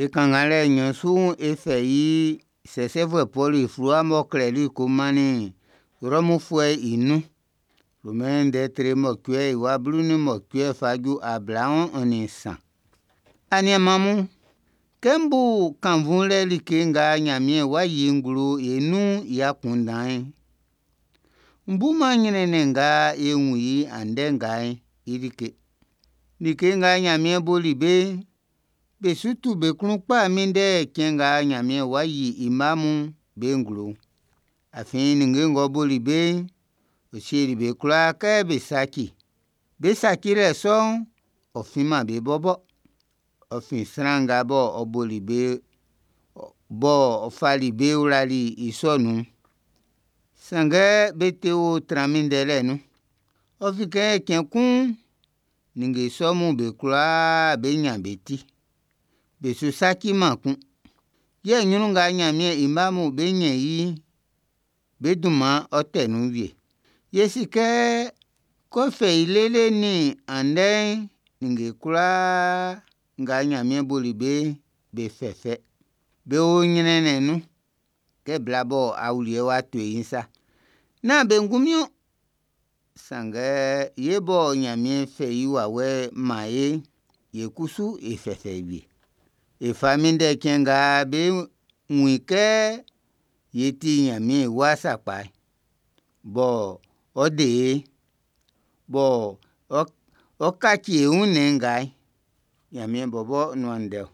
E kannganlɛ nɲɔn su'n, e fɛ i sɛsɛfuɛ Pɔlu i fluwa m'ɔ klɛli ko mannin Rɔmufuɛ'n i nun. Romain ndɛ tre mɔcuɛ i wa 18 fa ju 23. Aniaan mun, kɛ m bu kannvunlɛ like nga Ɲanmiɛn wá yí i nglo e nun'n i akunndan'n, n buman ɲrɛnnɛn nga e wun i andɛ nga'n i like. Like nga Ɲanmiɛn boli be'n, be su tu be klun kpa minndɛ cɛn nga Ɲanmiɛn wá yí i mma mun be nglo'n. Afin ninnge ng'ɔ boli be'n, ɔ sieli be kwlaa kɛ be saci. Be sacilɛ sɔ'n, ɔ finman be bɔbɔ. Ɔ fin sran nga ɔ boli be b'ɔ fali be wlali i sɔ nun'n. Sanngɛ be te wo tran minndɛlɛ nun. Ɔ fin kɛ cɛn kun'n, ninnge sɔ'm be kwlaa bé ɲán be ti. Be su saciman kun. Yɛ ɲrun nga Ɲanmiɛn i mma'm bé ɲɛ́n i'n, be dunman'n ɔ́ tɛ́ nun wie. Ye si kɛ, kɛ ɔ fɛ i lele nin andɛ'n, ninnge kwlaa nga Ɲanmiɛn boli be'n, be fɛfɛ. Be o ɲrɛnnɛn nun kɛ bla mɔ awuliɛ w'a to i'n sa. Nán be ngunmin ɔn, sanngɛ ye mɔ Ɲanmiɛn fɛ i wawɛ'n man e'n, e kusu e fɛfɛ wie. E fa minndɛ cɛn nga bé wún i kɛ ye ti Ɲanmiɛn i wa sakpa'n, bɔ ɔ de e'n, bɔ ɔ kaci e wunnɛn nga'n. Ɲanmiɛn bɔbɔ nuan ndɛ ɔ.